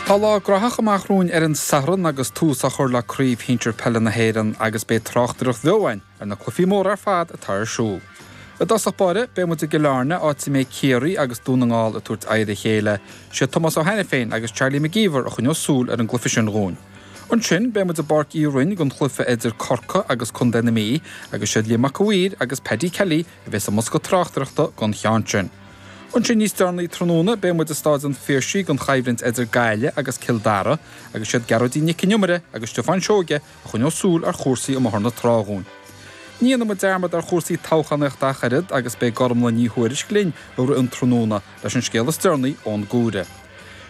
Tá lá graitheach amach romhainn ar an Satharn agus tús á chur le Craobh Shinsir Peile na hÉireann agus beidh tráchtaireacht bheo againn ar na cluichí móra ar fad atá ar siúl. I dtosach báire, beidh muid i gCill Airne, áit a mbeidh Ciarraí agus Dún na nGall ag tabhairt aghaidh ar a chéile. Sé Tomás Ó hAiniféin agus Charlie McGeever a choinneos súil ar an gcluiche sin dhúinn. Ansin, beidh muid i bPáirc Uí Rinn don chluiche idir Corcaigh agus Contae na Mí agus siad Liam Mac a' Mhaoir agus Paddy Kelly a bheas i mbosca tráchtaireachta don cheann sin. Ansin níos deireanaí tráthnóna beidh muid i Stáid an Phiarsaigh don choimhlint idir Gaillimh agus Cill Dara agus siad Gearóidín Nic an Iomaire agus Stiofán Seoige a choinneos súil ar chúrsaí amuigh ar na trá dhúinn. Ní dhéanfaidh muid dearmad ar chúrsaí toghchánaíochta ach oiread agus beidh Gormlaith Ní Thuairisg linn i rith an tráthnóna leis an scéal is deireanaí ón gComhaireamh.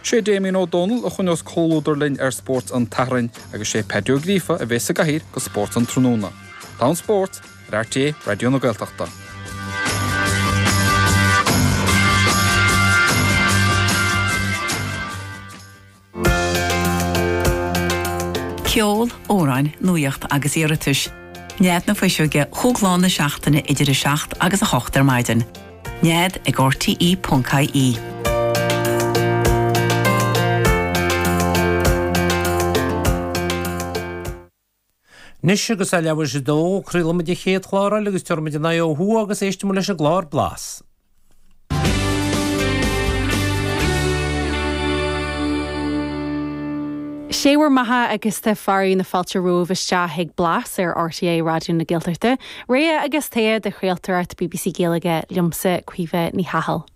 Sé Damien Ó Dónaill a choinneos comhluadar linn ar Spórt an tSathairn agus sé Paddy Ó Gríofa a bheas sa gcathaoir do Spórt an Tráthnóna. Tá an spórt! Ar RTÉ Raidió na Gaeltachta. Ceol, amhráin, nuaíocht agus iarratais. Nead na Fuiseoige chúig lá na seachtaine idir 7 agus 8 ar maidin. Nead ag rte.ie. Anois agus é leathuair tar éis a dó, craolfaidh muid an chéad chlár eile agus tabharfaidh muid an aghaidh ó thuaidh agus éistfidh muid leis an gclár Blas. Sé bhur mbeatha agus tá fearadh na fáilte romhaibh isteach chuig Blas ar RTÉ Raidió na Gaeltachta, rogha agus togha de chraoltóireacht bbc Gaeilge, liomsa Caoimhe Ní Chathail.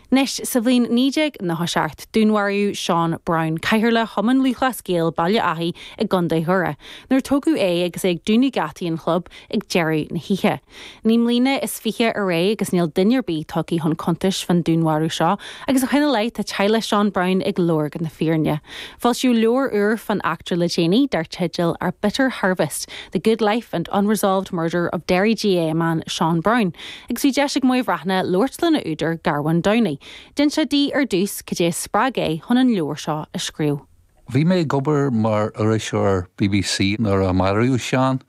Anois, sa bhliain 1997, dúnmharaíodh Seán Browne, Cathaoirleach Chumann Lúthchleas Gael Baile Áthaigh i gContae Dhoire, nuair a tógadh é agus é ag dúnadh geataí an chlub ag deireadh na hoíche. Naoi mbliana is fiche ar aghaidh agus níl duine ar bith tugtha chun cuntais fán dúnmharú seo agus ó shin i leith tá teaghlach Seán Browne ag lorg na fírinne. Foilsíodh leabhar úr fán eachtra le déanaí dar teideal Our Bitter Harvest, The Good Life and Unresolved Murder of Derry GAA Man Seán Browne. Agus bhí deis ag Moya Bhreathnach labhairt lena údar, Garmhain Downey. D'inis sé di ar dtús cad é a spreag é chun an leabhar seo a scríobh. Bhí mé ag obair mar iriseoir bbc nuair a maraíodh Seán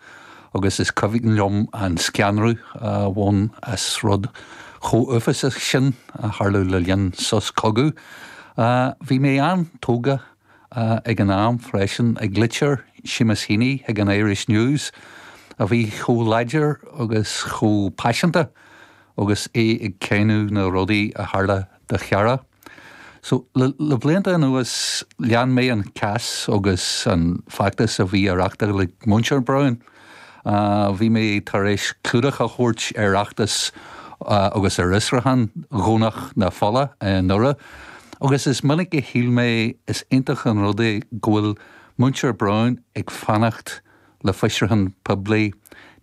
agus is cuimhin liom an scanradh a bhain as rud chomh uafásach sin a tharlú le linn sos cogaidh. Bhí mé an-tógtha ag an am freisin ag litir Seamus Heaney chuig an Irish News a bhí chomh láidir agus chomh paiseanta agus é ag cáineadh na rudaí a tharla do chara. So, le blianta anuas lean mé an cás agus an feachtas a bhí á reachtáil ag muintir Browne. Bhí mé tar éis clúdach a thabhairt ar fheachtas agus ar fhiosrúchán Dhomhnach na Fola i nDoire agus is minic a shíl mé is iontach an rud é go bhfuil muintir Browne ag fanacht le fiosrúchán poiblí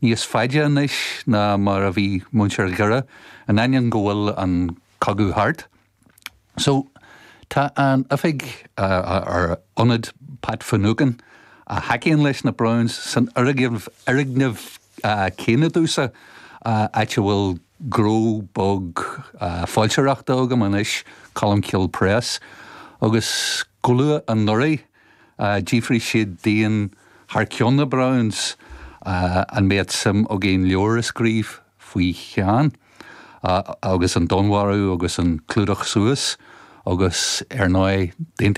níos faide anois ná mar a bhí muintir Dhoire, in ainneoin go bhfuil an cogadh thart. So, tá an oifig, ar ionad Pat Finucane, a thacaíonn leis na Brownes, san fhoirgneamh céanna domhsa, áit a bhfuil gnó beag foilsitheoireachta agam anois, Colmcille Press, agus go luath anuraidh, d'fhiafraigh siad dínn thar ceann na Brownes an mbeadh suim againn leabhar a scríobh faoi Sheán agus an dúnmharú agus an clúdach suas agus ar ndóigh d'aontaigh.